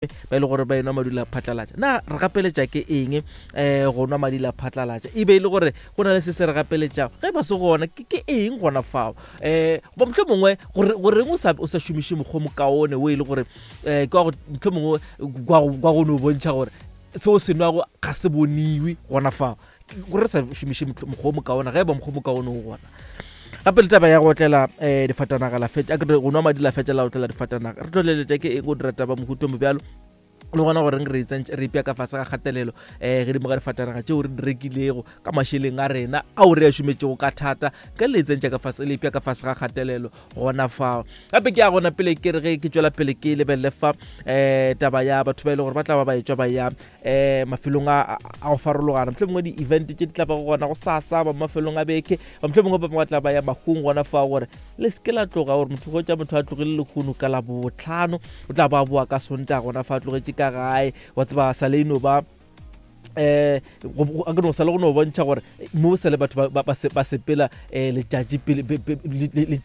Ba e le gore ba enwa madula phatlalatša. Na re gapeletša ke eng um go nwa madila phatlalatša? E be e le gore go na le se se re gapeletšago? Ge ba se gona, ke, ke eng gona fao? Um goba mohlho mongwe gore goreng o sa, o sa šomiše mokgwa o mokaone wo e le gore um ke wa go mohlho mongwe kwa go, kwa go no bontšha gore seo se nwago ga se boniwe gona fao. Gore re sa šomiše mokgwa o mokaone ge e ba mokgwa o mokaone o gona. Gape le taba ya go otlela um difatanaga la fetša, a ke re go nwa madi la fetša la otlela difatanaga. Re tloleletša ke eng go dira taba mohuto mo bjalo? Le gona goreng re itsentše re ipea ka fase ga kgatelelo um gedimo ga difatanaga tšeo re di rekilego ka mašeleng a rena ao re a šometšego ka thata, ka le itsentše ka fase le ipea ka fase ga kgatelelo gona fao. Gape ke ya gona pele ke re ge ke tšwela pele ke lebelele fa um taba ya batho ba e le gore ba tla ba ba etšwa ba ya um mafelong a go farologana, mohlomongwe di-event tše di tla bago gona go sasa ba mafelong a beke, ba mohlomongwe ba bangwe ba tla ba ya mahung gona fao, gore le seke la tloga gore motho hwetša motho a tlogile lehono ka Labohlano, o tla ba boa ka Sontaga gona fa a tlogetše ka gae, wa tseba sa le eno ba eh a ke no sa le go no bontšha gore mo sa le batho ba sepela eh letšatši pele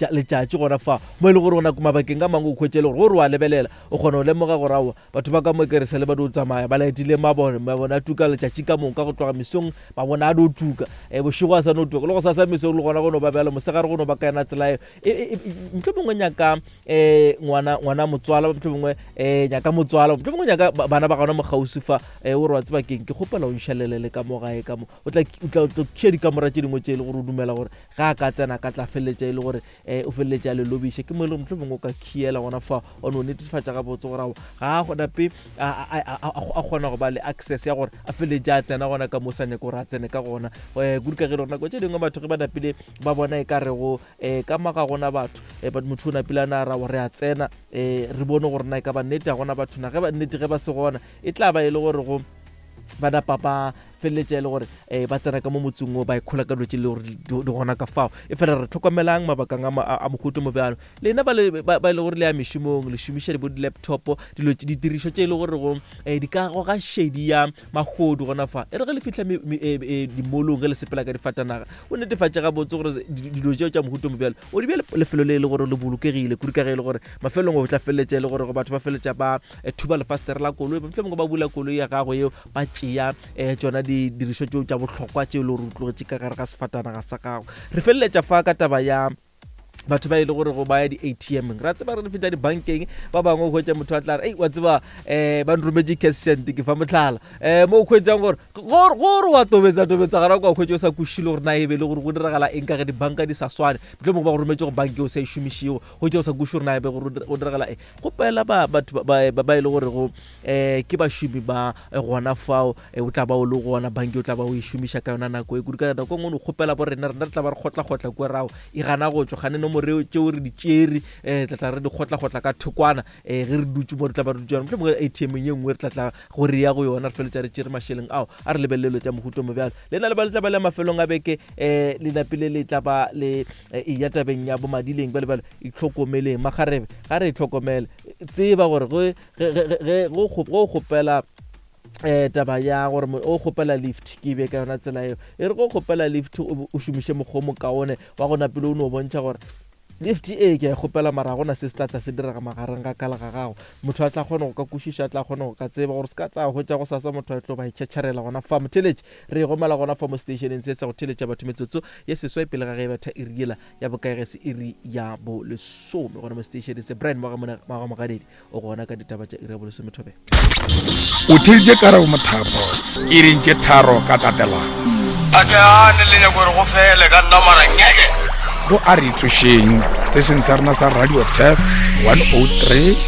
letšatši gona fa mo e le gore gona mabakeng a mangwe o khwetše le gore gore wa lebelela o kgona go lemoga gore aowa Batho ba ka mo ke re sa le ba dio tsamaya ba laetile mabone, mabone a tuka letšatši ka moka go tloga mesong, mabone a dio tuka, e bošego a sa no tuka, le go sasa mesong le gona go no ba bjalo, mosegare go no ba ka yona tsela eo. E, e, e, mohlomongwe nyaka um ngwana, ngwana motswala, mohlomongwe um nyaka motswala, mohlomongwe nyaka bana ba gona mo kgauswi fa, um o re wa tseba keng, ke kgopela o nšalele le ka mo gae ka mo. O tla, o tla, o tla tšea dikamora tše dingwe tše e le gore o dumela gore ge a ka tsena a ka tla feleletša e le gore um o feleletše a le lobiša. Ke mo e le gore mohlomongwe o ka khiela gona fa wa no netefatša gabotse gore aowa ga a nape a kgona go ba le access ya gore a feleletše a tsena gona ka mo sa nyake gore a tsene ka gona. Um kudu ka ge e le gore nako tše dingwe batho ge ba napile ba bona e ka rego um ka mo ga gona batho, um motho o napile a na ra re a tsena, um re bone gore na e ka ba nnete ga gona batho na, ge ba nnete ge ba se gona e tla ba e le gore go ba napa ba feleletša e le gore um ba tsena ka mo motseng o ba ikhola ka dilo tše le gore di gona ka fao. E fela re tlhokomelang mabakang a mohuta mo bjalo. Lena ba e le gore le ya mešomong, le šomiša bo di-laptop, dilo ditirišo tše e le gore go um di ka goga šedi ya mahodu gona fa. E re ge le fihla dimolong ge le sepela ka difatanaga, o netefatše gabotse gore dilo tšeo tša mohuta mo bjalo o di bea lefelo le e le gore le bolokegile, kudu ka ge e le gore mafelong o tla feleletša e le gore batho ba feleletša ba thuba lefastere la koloi, mohlomongwe ba bula koloi ya gago yeo ba tšea um tšona didirišwa tšeo tša bohlokwa tšeo e le gore o tlogetše ka gare ga sefatanaga sa gago. Re feleletša fa ka taba ya batho ba e le gore go ba ya di-A_T_M-eng. Ra tseba re re feta dibankeng, ba bangwe o hwetša motho a tla re, ei wa tseba um ba nrometše cash send, ke fa mohlala um mo o hwetšang gore gore wa tobetsa tobetsa gona kwa hwetša o sa kwešiše le gore na e be le gore go diragala eng ka ge dibanka di sa swane, mohlomongwe ba go rometše go banka e o sa e šomišego, hwetša o sa kwešiše gore na e be go diragala eng. Kgopela ba batho ba ba e le gore go um ke bašomi ba gona fao o tla ba o le gona banki o tla ba o e šomiša ka yona nako e kudu ka nako e nngwe o kgopela bo rena rena re tla ba re kgotlakgotla kua rago e gana go tšwa gane nomoro tšeo re di tšere um tla tla re di kgotlakgotla ka thokwana um ge re dutše mo re tla ba re dutše yona mohlomongwe A_T_M ye nngwe re tla tla go re ya go yona re feletša re tšere mašeleng ao a re lebelele tša mohuta mo bjalo le na le ba le tla ba le mafelong a beke um le napile le tla ba le eya tabeng ya bomadileng bjale bjale itlhokomeleng makgarebe ga re itlhokomele tseba gore ge go kgopela um taba ya gore o kgopela lift ke be ka yona tsela eo e re go kgopela lift o šomiše mokgwa o mokaone wa go napile o no bontšha gore lift e ke a e kgopela mara gona se se tla tla se direga magareng ga ka le ga gago motho a tla kgona go ka kwešiša a tla kgona go ka tseba gore se ka tla hwetša go sasa motho a tlo ba itšhatšharela gona fa motheletše re e gomela gona fa mo stationeng se sa go theletša batho metsotso ye seswai pele ga ge e betha iri yela ya bokae ge se iri ya bolesome gona mo seteišeneng se Brian Mogamogadiedi o gona ka ditaba tša iri ya bolesome thobela. O theeditše Karabo Mothapo iring tše tharo ka tatelano. A ke gane le nyako gore go fele ka nna mara ngeke. Go a re tsošeng seteishene sa rena sa Radio Turf 103.